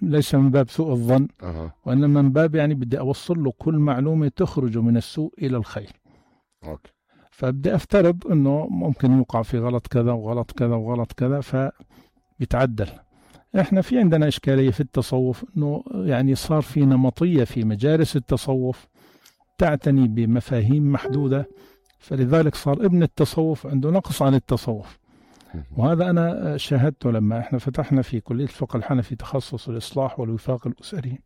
ليس من باب سوء الظن، وإنما من باب يعني بدي أوصل له كل معلومة تخرج من السوء إلى الخير. أوكي. فبدي أفترض إنه ممكن يوقع في غلط كذا وغلط كذا وغلط كذا، فبيتعدل. إحنا في عندنا إشكالية في التصوف، إنه يعني صار في نمطية في مجالس التصوف تعتني بمفاهيم محدودة، فلذلك صار ابن التصوف عنده نقص عن التصوف. وهذا أنا شاهدته لما إحنا فتحنا في كلية الفقه الحنفي تخصص الإصلاح والوفاق الأسري،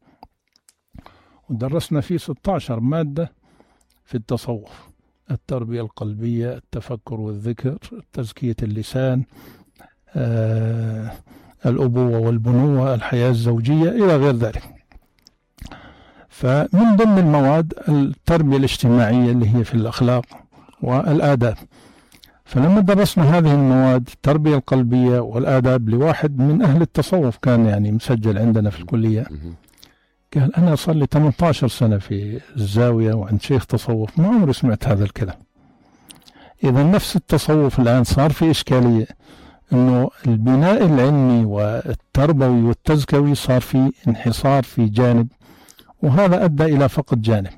ودرسنا فيه 16 مادة في التصوف: التربية القلبية، التفكر والذكر، تزكية اللسان، الأبوة والبنوة، الحياة الزوجية، إلى غير ذلك. فمن ضمن المواد التربية الاجتماعية اللي هي في الأخلاق والآداب. فلما درسنا هذه المواد التربية القلبية والآداب لواحد من أهل التصوف كان يعني مسجل عندنا في الكلية، قال أنا صار لي 18 سنة في الزاوية وعند شيخ تصوف ما عمري سمعت هذا الكلام. إذا نفس التصوف الآن صار في إشكالية، إنه البناء العلمي والتربوي والتزكوي صار في انحصار في جانب، وهذا أدى إلى فقد جانب.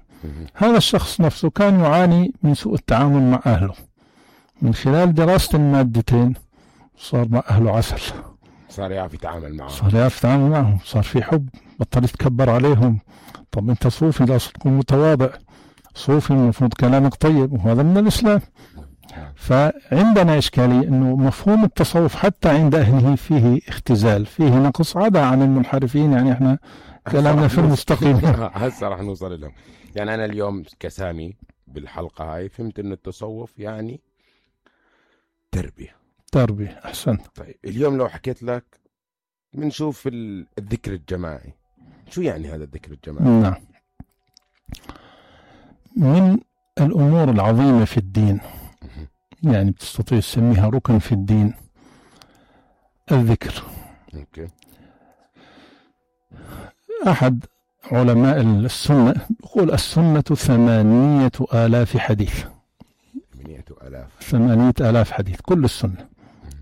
هذا الشخص نفسه كان يعاني من سوء التعامل مع أهله، من خلال دراسة المادتين صار مع أهله عسل، صار يعرف يتعامل معهم، صار في حب، بطل يتكبر عليهم. طب أنت صوفي لازم تكون متواضع، صوفي المفروض كلامك طيب، وهذا من الإسلام. فعندنا إشكالية إنه مفهوم التصوف حتى عند أهله فيه اختزال، فيه نقص، عدا عن المنحرفين. يعني إحنا كلامنا في المستقيم. هسه راح نوصل لهم. يعني أنا اليوم كسامي بالحلقة هاي فهمت إن التصوف يعني تربية. أحسنت. طيب اليوم لو حكيت لك بنشوف الذكر الجماعي، شو يعني هذا الذكر الجماعي؟ نعم، من الأمور العظيمة في الدين، يعني بتستطيع تسميها ركن في الدين، الذكر. أوكي. أحد علماء السنة يقول السنة 8,000 حديث. 8,000 حديث كل السنة.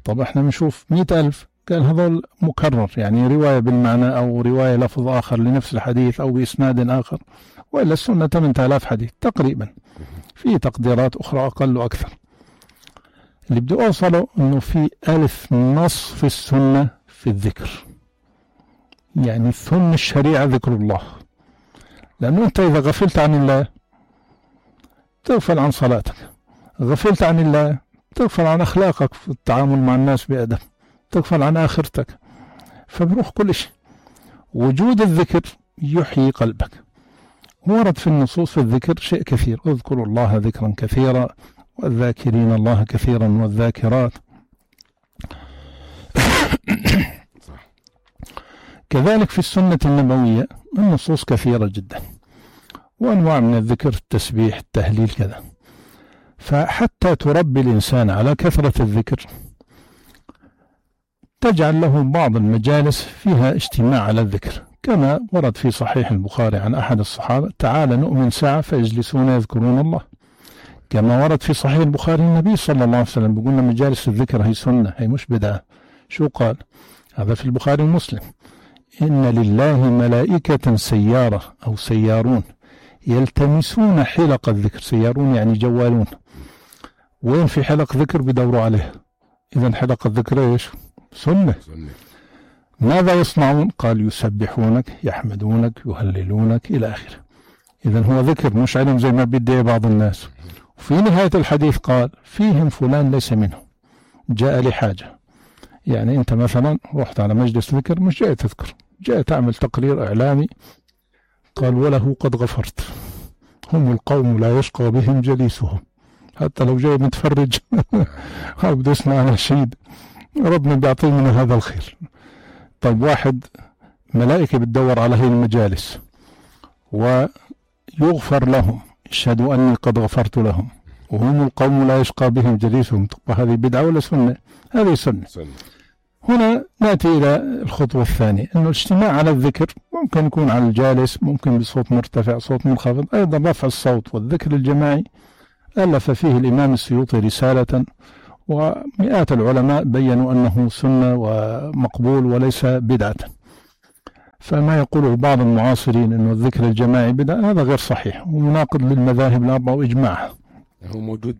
طب احنا بنشوف 100,000، قال هذول مكرر، يعني رواية بالمعنى أو رواية لفظ آخر لنفس الحديث أو بإسناد آخر، وإلا السنة 8,000 حديث تقريبا، في تقديرات أخرى أقل وأكثر. اللي بدي أوصله أنه في 1000 نص في السنة في الذكر، يعني ثم الشريعة ذكر الله. لأنه أنت إذا غفلت عن الله تغفل عن صلاتك، غفلت عن الله تغفل عن أخلاقك في التعامل مع الناس بأدب، تغفل عن آخرتك، فبروح كل شيء. وجود الذكر يحيي قلبك. ورد في النصوص في الذكر شيء كثير: اذكروا الله ذكرا كثيرا والذاكرين الله كثيرا والذاكرات. كذلك في السنة النبوية النصوص كثيرة جدا، وأنواع من الذكر، التسبيح، التهليل، كذا. فحتى تربي الإنسان على كثرة الذكر تجعل له بعض المجالس فيها اجتماع على الذكر، كما ورد في صحيح البخاري عن أحد الصحابة: تعال نؤمن ساعة فيجلسون يذكرون الله. كما ورد في صحيح البخاري النبي صلى الله عليه وسلم بيقولنا مجالس الذكر هي سنة، هي مش بدعة. شو قال؟ هذا في البخاري ومسلم: إن لله ملائكة سيارة أو سيارون يلتمسون حلق الذكر. سيارون يعني جوالون، وين في حلق ذكر بدوروا عليه. إذن حلق الذكر إيش؟ سنة. ماذا يصنعون؟ قال يسبحونك، يحمدونك، يهللونك، إلى آخره. إذن هو ذكر مش علم زي ما بدي بعض الناس. وفي نهاية الحديث قال: فيهم فلان ليس منهم، جاء لحاجة. يعني أنت مثلا رحت على مجلس ذكر، مش جاي تذكر، جاي تعمل تقرير إعلامي. قال: وله قد غفرت، هم القوم لا يشقى بهم جليسهم. حتى لو جاي متفرج أو بده يسمع نشيد، ربنا بيعطيه من هذا الخير. طيب واحد ملائكة بتدور على هي المجالس ويغفر لهم، اشهدوا أني قد غفرت لهم، وهم القوم لا يشقى بهم جليسهم. طب هذه بدعة ولا سنة؟ هذه سنة. هنا نأتي إلى الخطوة الثانية، أنه الاجتماع على الذكر ممكن يكون على الجالس، ممكن بصوت مرتفع، صوت منخفض، أيضا رفع الصوت. والذكر الجماعي ألف فيه الإمام السيوطي رسالة، ومئات العلماء بيّنوا أنه سنة ومقبول وليس بدعة. فما يقوله بعض المعاصرين أنه الذكر الجماعي بدعة هذا غير صحيح ومناقض للمذاهب الأربعة وإجماعها. هو موجود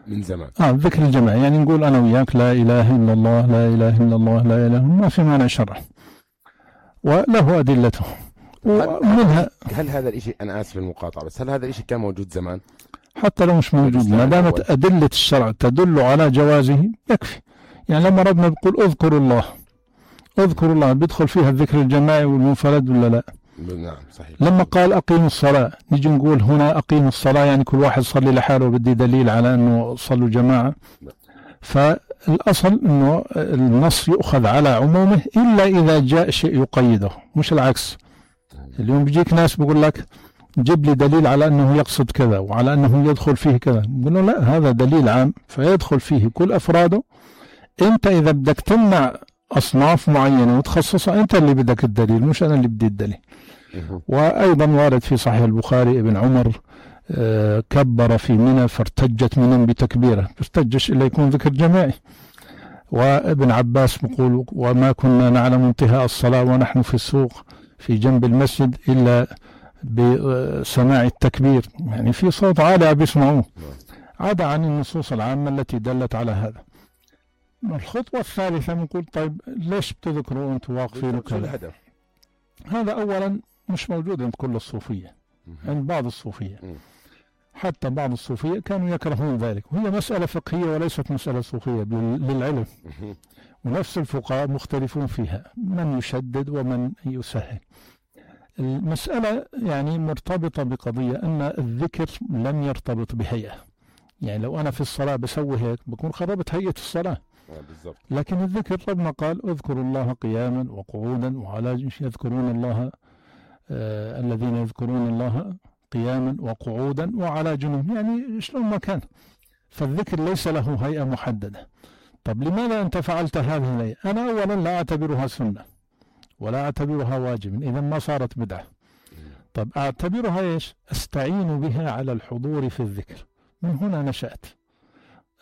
من زمان. الذكر الجماعي يعني نقول أنا وياك لا إله إلا الله لا إله إلا الله لا إله إلا الله، ما في مانع شرعي وله أدلته. ومنها هل هذا الإشي، أنا آسف المقاطعة، بس هل هذا الإشي كان موجود زمان؟ حتى لو مش موجود ما دامت أدلة الشرع تدل على جوازه يكفي. يعني لما ربنا بيقول اذكروا الله بيدخل فيها الذكر الجماعي والمنفرد ولا لا؟ نعم صحيح. لما قال أقيموا الصلاة نيجي نقول هنا أقيموا الصلاة يعني كل واحد صلي لحاله، بدي دليل على أنه صلوا جماعة. فالأصل أنه النص يؤخذ على عمومه إلا إذا جاء شيء يقيده، مش العكس. اليوم بيجيك ناس بيقول لك جيب لي دليل على أنه يقصد كذا وعلى أنه يدخل فيه كذا، نقول له لا، هذا دليل عام فيدخل فيه كل أفراده. أنت إذا بدك تمنع أصناف معينة وتخصصها أنت اللي بدك الدليل، مش أنا اللي بدي الدليل. وأيضا وارد في صحيح البخاري ابن عمر كبر في منى فارتجت منى بتكبيره، ارتجش إلا يكون ذكر جماعي. وابن عباس بيقول وما كنا نعلم انتهاء الصلاة ونحن في السوق في جنب المسجد إلا بسماع التكبير، يعني في صوت عالي بيسمعوه، عدا عن النصوص العامة التي دلت على هذا. الخطوة الثالثة بنقول طيب ليش بتذكروا انتم واقفين وكذا؟ هذا أولا مش موجود عند كل الصوفية، عند بعض الصوفية، حتى بعض الصوفية كانوا يكرهون ذلك، وهي مسألة فقهية وليست مسألة صوفية للعلم، ونفس الفقهاء مختلفون فيها، من يشدد ومن يسهل. المسألة يعني مرتبطة بقضية أن الذكر لم يرتبط بهيئة. يعني لو أنا في الصلاة بسوي هيك بكون خربت هيئة الصلاة. لكن الذكر ربنا قال اذكروا الله قياما وقعودا وعلى يذكرون الله الذين يذكرون الله قياما وقعودا وعلى جنوب، يعني شلون ما كان. فالذكر ليس له هيئة محددة. طب لماذا أنت فعلت هذه الهيئة؟ أنا أولا لا أعتبرها سنة ولا أعتبرها واجب، إذا ما صارت بدعة. طب أعتبرها إيش؟ أستعين بها على الحضور في الذكر. من هنا نشأت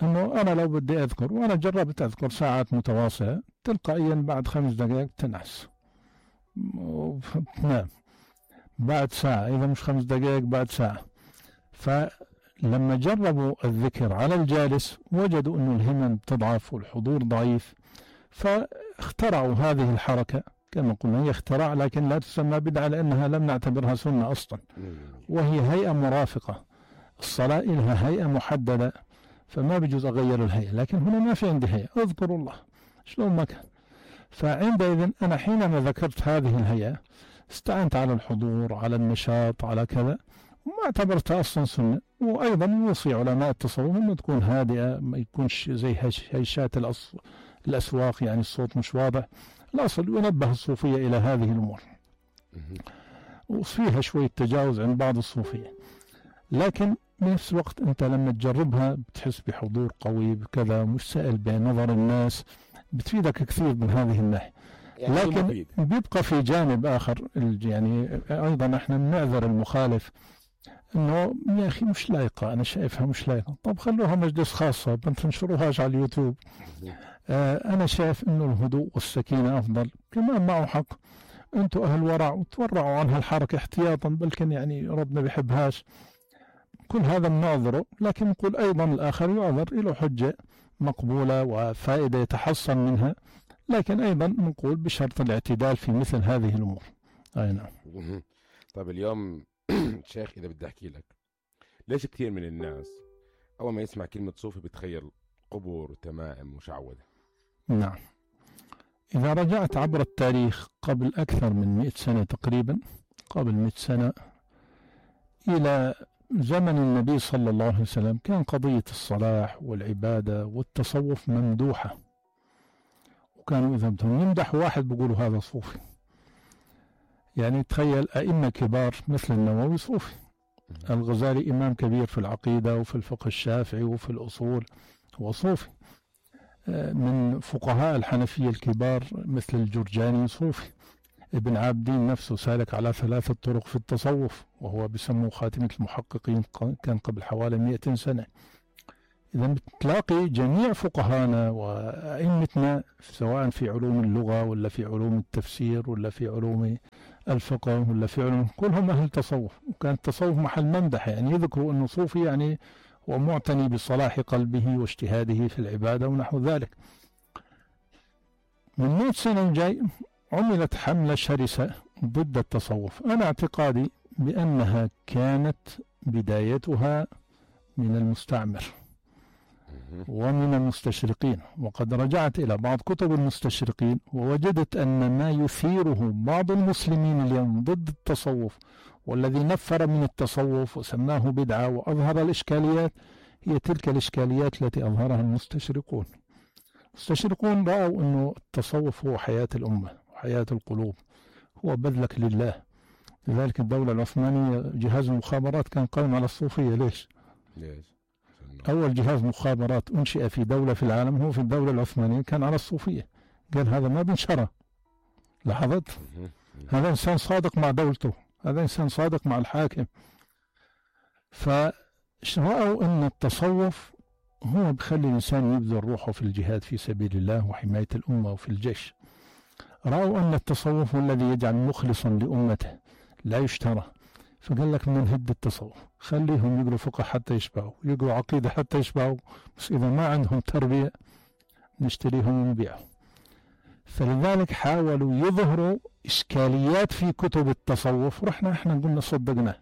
أنه أنا لو بدي أذكر، وأنا جربت أذكر ساعات متواصلة، تلقائيا بعد 5 دقائق تنعس وتنام، بعد ساعة، إذا مش 5 دقائق بعد ساعة. فلما جربوا الذكر على الجالس وجدوا أنه الهمم تضعف والحضور ضعيف، فاخترعوا هذه الحركة. كما قلنا هي اختراع لكن لا تسمى بدعة لأنها لم نعتبرها سنة أصلا، وهي هيئة مرافقة. الصلاة لها هيئة محددة فما بيجوز أغير الهيئة، لكن هنا ما في عندي هيئة، اذكروا الله شلون ما كان. فعندئذ أنا حينما ذكرت هذه الهيئة استعنت على الحضور، على النشاط، على كذا، وما اعتبرتها أصلا سنة. وأيضا يوصي علماء التصوف أنه تكون هادئة، ما يكونش زي هيشات الأسواق، يعني الصوت مش واضح. الأصل ينبه الصوفية إلى هذه الأمور، وفيها شوية تجاوز عند بعض الصوفية، لكن بنفس الوقت أنت لما تجربها بتحس بحضور قوي بكذا، مش سائل بنظر الناس، بتفيدك كثير من هذه الناحية. لكن بيبقى في جانب آخر، يعني أيضا احنا بنعذر المخالف انه يا اخي مش لايقة، انا شايفها مش لايقة. طب خلوها مجلس خاصة، ما تنشروهاش على اليوتيوب. انا شايف انه الهدوء والسكينة افضل، كمان معه حق. انتوا اهل ورع وتورعوا عن هالحركة احتياطا، بلكن يعني ربنا بيحبهاش. كل هذا بنعذره، لكن نقول ايضا الاخر يعذر، له حجة مقبولة وفائدة يتحصل منها، لكن ايضا نقول بشرط الاعتدال في مثل هذه الامور. اي نعم. طيب اليوم شيخ إذا بدي أحكي لك، ليش كثير من الناس أول ما يسمع كلمة صوفي بتخيل قبور وتمائم وشعوذة؟ نعم، إذا رجعت عبر التاريخ قبل أكثر من 100 سنة تقريبا، قبل 100 سنة إلى زمن النبي صلى الله عليه وسلم، كان قضية الصلاح والعبادة والتصوف ممدوحة، وكانوا إذا بدهم يمدحوا واحد بيقولوا هذا صوفي. يعني تخيل أئمة كبار مثل النووي صوفي، الغزالي إمام كبير في العقيدة وفي الفقه الشافعي وفي الأصول هو صوفي، من فقهاء الحنفية الكبار مثل الجرجاني صوفي، ابن عابدين نفسه سالك على 3 طرق في التصوف وهو بسموه خاتمة المحققين، كان قبل حوالي 200 سنة. إذا بتلاقي جميع فقهانا وأئمتنا سواء في علوم اللغة ولا في علوم التفسير ولا في علوم الفقه ولا في علوم، كلهم أهل تصوف. وكان التصوف محل ممدح، يعني يذكروا أنه صوفي يعني هو معتني بصلاح قلبه واجتهاده في العبادة ونحو ذلك. من 100 سنة جاي عملت حملة شرسة ضد التصوف. أنا اعتقادي بأنها كانت بدايتها من المستعمر ومن المستشرقين، وقد رجعت إلى بعض كتب المستشرقين ووجدت أن ما يثيره بعض المسلمين اليوم ضد التصوف والذي نفر من التصوف وسماه بدعة وأظهر الإشكاليات هي تلك الإشكاليات التي أظهرها المستشرقون. المستشرقون رأوا أن التصوف هو حياة الأمة وحياة القلوب، هو بذلك لله. لذلك الدولة العثمانية جهاز المخابرات كان قائم على الصوفية. ليش؟ أول جهاز مخابرات أنشئ في دولة في العالم هو في الدولة العثمانية كان على الصوفية. قال هذا ما بنشره. لاحظت؟ هذا إنسان صادق مع دولته، هذا إنسان صادق مع الحاكم. فرأوا أن التصوف هو بخلي الإنسان يبذل روحه في الجهاد في سبيل الله وحماية الأمة وفي الجيش. رأوا أن التصوف هو الذي يجعل مخلصا لأمته لا يشترى. فقال لك من هد التصوف، خليهم يقروا فقه حتى يشبعوا، يقروا عقيدة حتى يشبعوا، بس إذا ما عندهم تربية نشتريهم ونبيعهم. فلذلك حاولوا يظهروا إشكاليات في كتب التصوف، رحنا احنا قلنا صدقناه،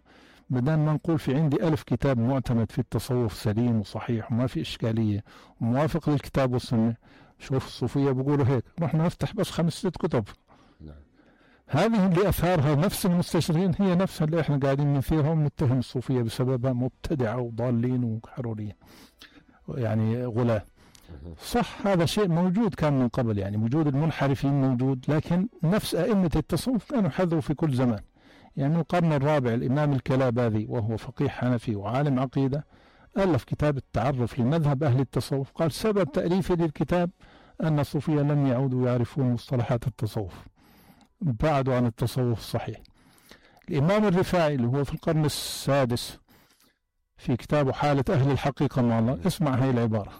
بدل ما نقول في عندي 1000 كتاب معتمد في التصوف سليم وصحيح وما في إشكالية وموافق للكتاب والسنة. شوف الصوفية بيقولوا هيك، رحنا نفتح بس 5-6 كتب. هذه اللي أثارها نفس المستشرقين هي نفسها اللي احنا قاعدين نثيرها ونتهم الصوفية بسببها مبتدعة وضالين وحروريين يعني غلاة. صح هذا شيء موجود كان من قبل، يعني وجود المنحرفين موجود، لكن نفس أئمة التصوف كانوا حذروا في كل زمان. يعني من القرن الرابع الإمام الكلاباذي وهو فقيه حنفي وعالم عقيدة ألف كتاب التعرف لمذهب أهل التصوف. قال سبب تأليفه للكتاب أن الصوفية لم يعودوا يعرفون مصطلحات التصوف، بعدوا عن التصوف الصحيح. الإمام الرفاعي اللي هو في القرن السادس في كتابه حالة أهل الحقيقة مع الله، اسمع هاي العبارة،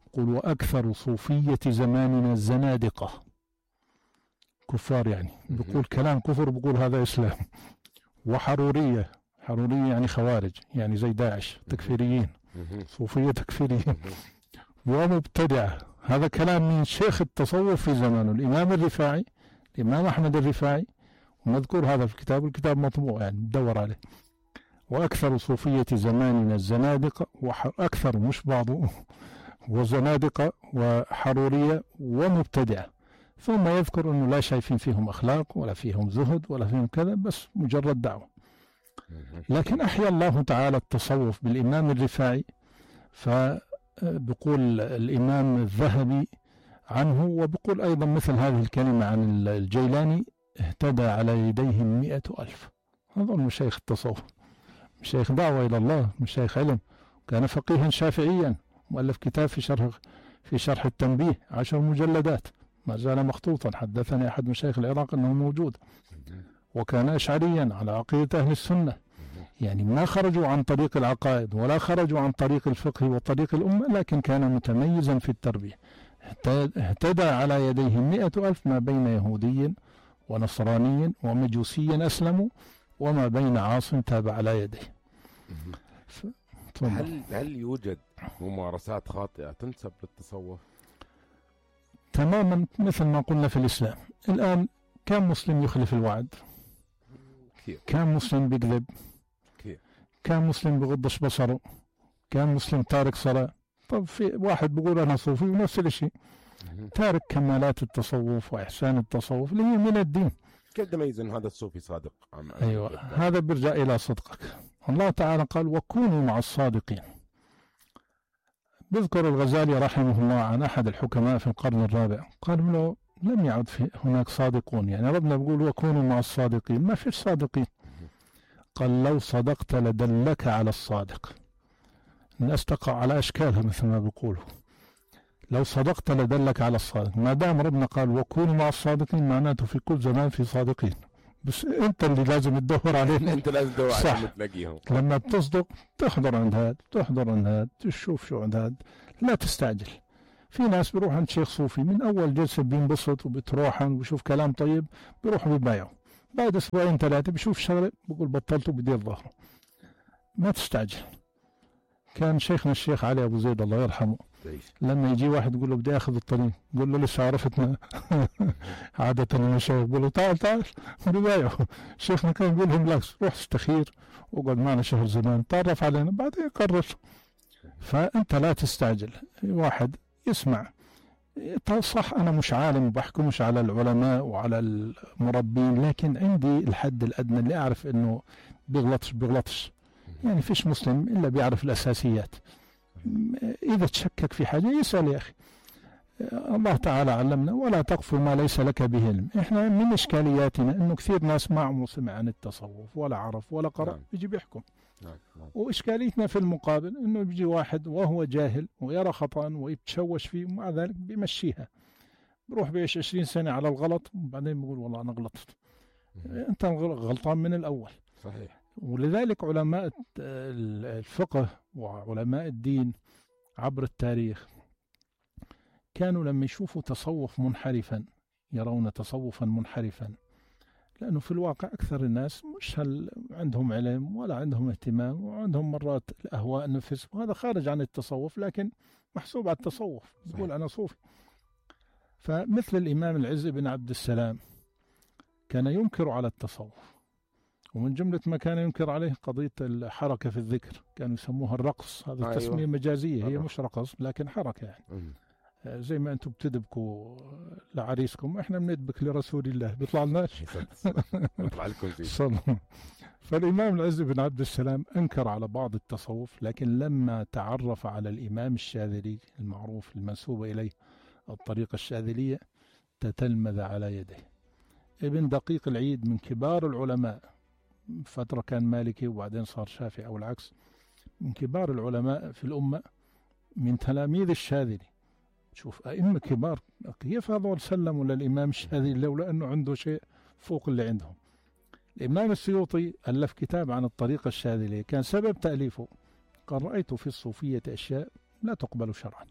يقول وأكثر صوفية زماننا الزنادقة، كفار يعني، بيقول كلام كفر، بيقول هذا إسلام. وحرورية، حرورية يعني خوارج، يعني زي داعش، تكفيريين، صوفية تكفيريين. ومبتدعة، هذا كلام من شيخ التصوف في زمانه الإمام الرفاعي، الإمام أحمد الرفاعي، ومذكور هذا في الكتاب، الكتاب مطبوع يعني تدور عليه. وأكثر صوفية زماننا الزنادقة، وأكثر مش بعضه، وزنادقة وحرورية ومبتدعة. ثم يذكر أنه لا شايفين فيهم أخلاق ولا فيهم زهد ولا فيهم كذا، بس مجرد دعوة. لكن أحيا الله تعالى التصوف بالإمام الرفاعي. فبقول الإمام الذهبي عنه، وبقول أيضا مثل هذه الكلمة عن الجيلاني، اهتدى على يديهم 100,000. هذول مشايخ التصوف، مشايخ دعوة إلى الله، مشايخ علم. كان فقيها شافعيا، مؤلف كتاب في شرح التنبيه 10 مجلدات، ما زال مخطوطا. حدثني أحد مشايخ العراق أنه موجود. وكان أشعريا على عقيدة أهل السنة، يعني ما خرجوا عن طريق العقائد ولا خرجوا عن طريق الفقه وطريق الأمة، لكن كان متميزا في التربية. اهتدى على يديه 100,000، ما بين يهودي ونصراني ومجوسي أسلموا، وما بين عاص تاب على يديه. هل يوجد ممارسات خاطئة تنسب للتصوف؟ تماما مثل ما قلنا في الإسلام. الآن كم مسلم يخلف الوعد؟ كم مسلم بيكذب؟ كم مسلم بغضش بصره؟ كم مسلم تارك صلاة؟ طب في واحد بيقول أنا صوفي ونفس الشيء تارك كمالات التصوف وإحسان التصوف اللي هي من الدين. كيف تميز أن هذا الصوفي صادق؟ أيوة، هذا بيرجع إلى صدقك. الله تعالى قال وكونوا مع الصادقين. بذكر الغزالي رحمه الله عن أحد الحكماء في القرن الرابع، قال له لم يعد هناك صادقون، يعني ربنا بيقول وكونوا مع الصادقين، ما فيش صادقين. قال لو صدقت لدلك على الصادق. الناس تقع على أشكالها مثل ما بيقولوا. لو صدقت لدلك على الصادق. ما دام ربنا قال وكونوا مع الصادقين، معناته في كل زمان في صادقين، بس أنت اللي لازم تدور عليهم. انت لازم تدور صح. عليهم تلاقيهم. لما بتصدق تحضر عند هاد، تحضر عند هاد، تشوف شو عند هاد، لا تستعجل. في ناس بيروح عند شيخ صوفي من أول جلسة بينبسط وبتروحن وبشوف كلام طيب، بيروح بيبايعه، بعد أسبوعين ثلاثة بشوف شغلة بقول بطلته بدير ظهره. ما تستعجل. كان شيخنا الشيخ علي أبو زيد الله يرحمه لما يجي واحد يقول له بدي اخذ الطريق، يقول له لسه عرفتنا. عادة المشايخ بيقولوا تعال تعال ببايعوا. شيخنا كان يقول لهم بالعكس، روح استخير واقعد معنا شهر زمان، تعرف علينا بعدين قرر. فانت لا تستعجل. واحد يسمع صح، انا مش عالم وبحكمش على العلماء وعلى المربين، لكن عندي الحد الادنى اللي اعرف انه بيغلطش. يعني فيش مسلم الا بيعرف الاساسيات. إذا تشكك في حاجة يسأل يا أخي. الله تعالى علمنا ولا تقف ما ليس لك به علم. إحنا من إشكالياتنا إنه كثير ناس ما عمره سمع عن التصوف ولا عرف ولا قرأ بيجي بيحكم. وإشكاليتنا في المقابل إنه بيجي واحد وهو جاهل ويرى خطأ ويتشوش فيه ومع ذلك بيمشيها، بروح بيعيش 20 سنة على الغلط وبعدين بيقول والله أنا غلطت. أنت غلطان من الأول. صحيح. ولذلك علماء الفقه وعلماء الدين عبر التاريخ كانوا لما يشوفوا تصوف منحرفا يرون تصوفا منحرفا، لأنه في الواقع أكثر الناس مش عندهم علم ولا عندهم اهتمام، وعندهم مرات الأهواء النفس، وهذا خارج عن التصوف لكن محسوب على التصوف، يقول أنا صوفي. فمثل الإمام العز بن عبد السلام كان ينكر على التصوف، ومن جملة ما كان ينكر عليه قضية الحركة في الذكر، كانوا يسموها الرقص. هذا التسمية مجازية، هي مش رقص لكن حركة يعني. زي ما أنتم بتدبكوا لعريسكم، إحنا بندبك لرسول الله بيطلع لناش. بيطلع لكم فالإمام العز بن عبد السلام أنكر على بعض التصوف، لكن لما تعرف على الإمام الشاذلي المعروف المنسوب إليه الطريقة الشاذلية تتلمذ على يده. ابن دقيق العيد من كبار العلماء، فترة كان مالكي وبعدين صار شافعي أو العكس، من كبار العلماء في الأمة من تلاميذ الشاذلي. شوف أئمة كبار كيف هذول سلموا للإمام الشاذلي لولا أنه عنده شيء فوق اللي عندهم. الإمام السيوطي ألف كتاب عن الطريقة الشاذلية، كان سبب تأليفه قال رأيت في الصوفية أشياء لا تقبل شرعا،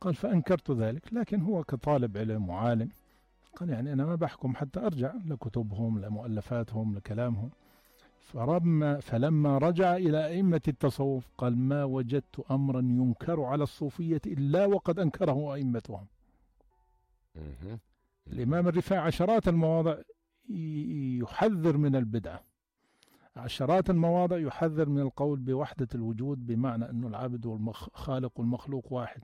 قال فأنكرت ذلك، لكن هو كطالب علم وعالم قال يعني أنا ما بحكم حتى أرجع لكتبهم لمؤلفاتهم لكلامهم. فلما رجع إلى أئمة التصوف قال ما وجدت أمرا ينكر على الصوفية إلا وقد أنكره أئمتهم. الإمام الرفاعي عشرات المواضع يحذر من البدعة، عشرات المواضع يحذر من القول بوحدة الوجود، بمعنى أنه العبد والخالق والمخلوق واحد.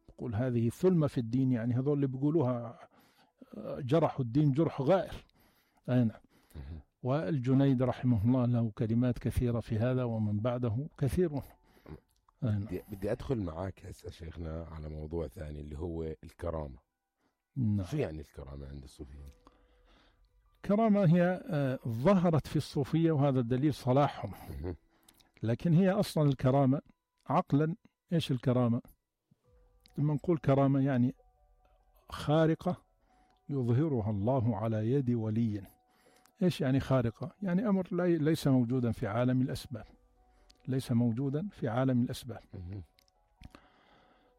يقول هذه ثلمة في الدين، يعني هذول اللي بيقولوها جرحوا الدين جرح غائر. أين والجنيد رحمه الله له كلمات كثيرة في هذا ومن بعده كثير. بدي أدخل معاك هسه شيخنا على موضوع ثاني اللي هو الكرامة. نعم. شو يعني الكرامة عند الصوفيين؟ الكرامة هي ظهرت في الصوفية وهذا دليل صلاحهم، لكن هي أصلا الكرامة عقلا إيش الكرامة؟ لما نقول كرامة يعني خارقة يظهرها الله على يد ولي. إيش يعني خارقة؟ يعني أمر ليس موجودا في عالم الأسباب، ليس موجودا في عالم الأسباب،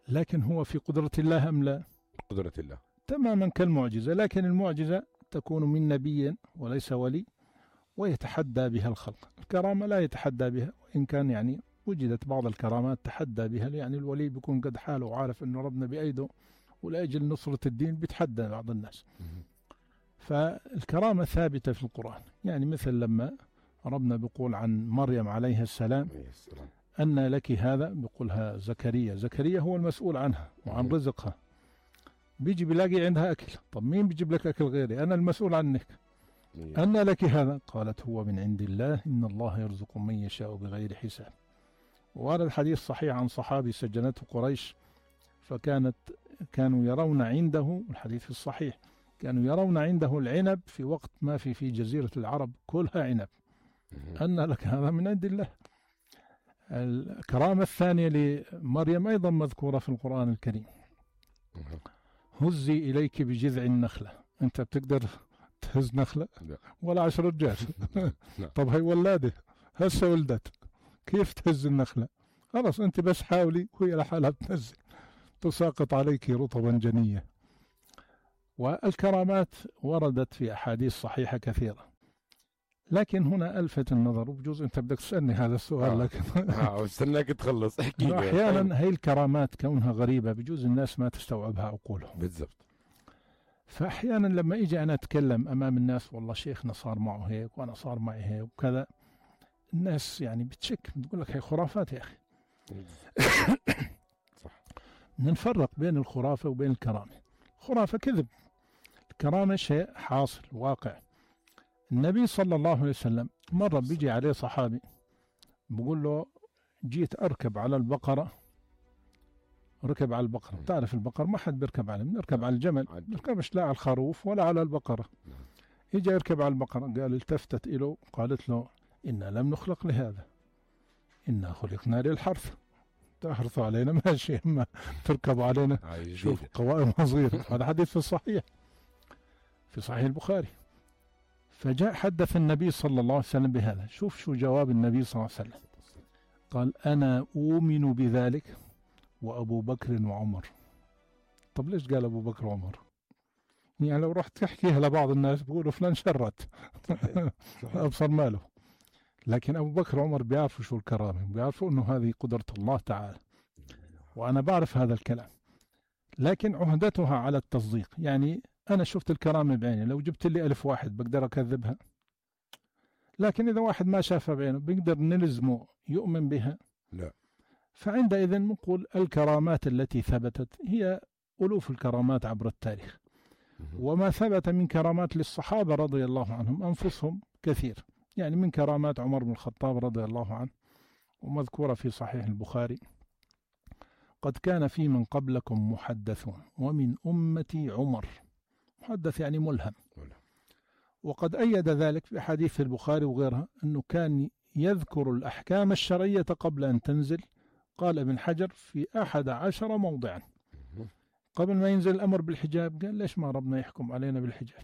لكن هو في قدرة الله أم لا؟ قدرة الله تماما كالمعجزة، لكن المعجزة تكون من نبي وليس ولي ويتحدى بها الخلق. الكرامة لا يتحدى بها، وإن كان يعني وجدت بعض الكرامات تحدى بها، يعني الولي بيكون قد حاله وعارف أنه ربنا بأيده ولأجل نصرة الدين بيتحدى بعض الناس. فالكرامة ثابتة في القرآن، يعني مثل لما ربنا بيقول عن مريم عليها السلام أن لك هذا، بيقولها زكريا هو المسؤول عنها وعن رزقها، بيجي بيلاقي عندها أكل. طب مين بيجيب لك أكل غيري؟ أنا المسؤول عنك. أن لك هذا؟ قالت هو من عند الله إن الله يرزق من يشاء بغير حساب. وهذا الحديث صحيح عن صحابي سجنته قريش، كانوا يرون عنده، الحديث الصحيح، كانوا يرون عنده العنب في وقت ما في جزيرة العرب كلها عنب. أن لك هذا من عند الله. الكرامة الثانية لمريم أيضا مذكورة في القرآن الكريم، هزي إليك بجذع النخلة. أنت بتقدر تهز نخلة لا. ولا 10 رجال. لا. طب هي ولادة هسه ولدت، كيف تهز النخلة؟ خلاص أنت بس حاولي وهي لحالها بتنزل، تساقط عليك رطبا جنية. والكرامات وردت في أحاديث صحيحة كثيرة، لكن هنا ألفت النظر، وبجوز أنت بدك تسألني هذا السؤال لكن استناك تخلص احكي لي. أحيانا هي الكرامات كونها غريبة بجوز الناس ما تستوعبها عقولهم. بالضبط. فأحيانا لما إجي أنا أتكلم أمام الناس والله شيخنا صار معه هيك وأنا صار معي هيك وكذا، الناس يعني بتشك، بتقول لك هي خرافات يا أخي. صح. نفرق بين الخرافة وبين الكرامة. الخرافة كذب، الكرامة شيء حاصل واقع. النبي صلى الله عليه وسلم مرة بيجي عليه صحابي بقول له جيت أركب على البقرة، ركب على البقرة، تعرف البقر ما حد بيركب عليه، بنركب على الجمل، بنركبش لا على الخروف ولا على البقرة. يجي يركب على البقرة، قال التفتت إله قالت له إنا لم نخلق لهذا، إنا خلقنا للحرث، تحرثوا علينا ماشي، اما تركبوا علينا شوف قوائم صغيرة. هذا حديث في الصحيح، في صحيح البخاري. فجاء حدث النبي صلى الله عليه وسلم بهذا. شوف شو جواب النبي صلى الله عليه وسلم، قال أنا أؤمن بذلك وأبو بكر وعمر. طب ليش قال أبو بكر وعمر؟ يعني لو رحت تحكيها لبعض الناس بيقولوا فلان شرت أبصر ماله. لكن أبو بكر وعمر بيعرفوا شو الكرامة، بيعرفوا أنه هذه قدرة الله تعالى، وأنا بعرف هذا الكلام، لكن عهدتها على التصديق. يعني أنا شفت الكرامة بعيني، لو جبت لي 1000 واحد بقدر أكذبها، لكن إذا واحد ما شافها بعينه بقدر نلزمه يؤمن بها؟ لا. فعندئذ نقول الكرامات التي ثبتت هي ألوف الكرامات عبر التاريخ، وما ثبت من كرامات للصحابة رضي الله عنهم أنفسهم كثير. يعني من كرامات عمر بن الخطاب رضي الله عنه ومذكورة في صحيح البخاري، قد كان في من قبلكم محدثون ومن أمتي عمر. محدث يعني ملهم. وقد أيد ذلك بحديث البخاري وغيرها أنه كان يذكر الأحكام الشرعية قبل أن تنزل. قال ابن حجر في 11 موضعا قبل ما ينزل الأمر بالحجاب قال ليش ما ربنا يحكم علينا بالحجاب؟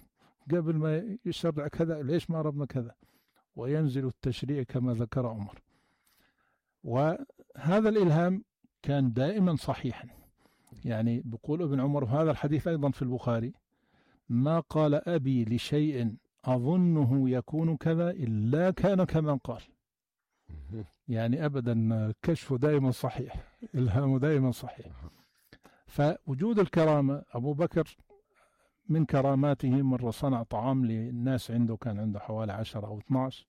قبل ما يشرع كذا ليش ما ربنا كذا؟ وينزل التشريع كما ذكر عمر. وهذا الإلهام كان دائما صحيحا. يعني بيقول ابن عمر وهذا الحديث أيضا في البخاري، ما قال أبي لشيء أظنه يكون كذا إلا كان كما قال. يعني أبدا كشفه دائما صحيح، إلهامه دائما صحيح. فوجود الكرامة، أبو بكر من كراماته مرة صنع طعام للناس عنده، كان عنده حوالي 10 أو 12،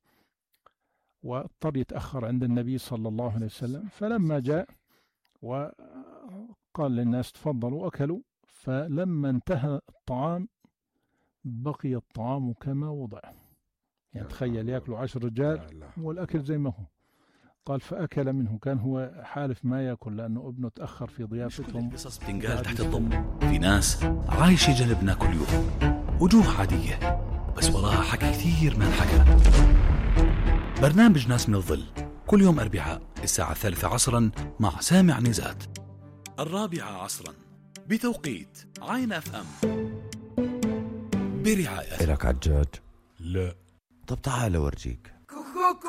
واضطر يتأخر عند النبي صلى الله عليه وسلم، فلما جاء وقال للناس تفضلوا أكلوا، فلما انتهى الطعام بقي الطعام كما وضع. يعني تخيل يأكلوا 10 رجال والأكل زي ما هو. قال فأكل منه، كان هو حالف ما يأكل لأنه ابنه تأخر في ضيافتهم. قصص بتنقال تحت الضم، في ناس عايشة جنبنا كل يوم، وجوه عادية بس وراها حكي كثير ما انحكى. برنامج ناس من الظل كل يوم أربعاء الساعة 3 عصرا مع سامع نزات، 4 عصرا بتوقيت عين FM، برعاية. إلك عجاج؟ لا. طب تعال أورجيك.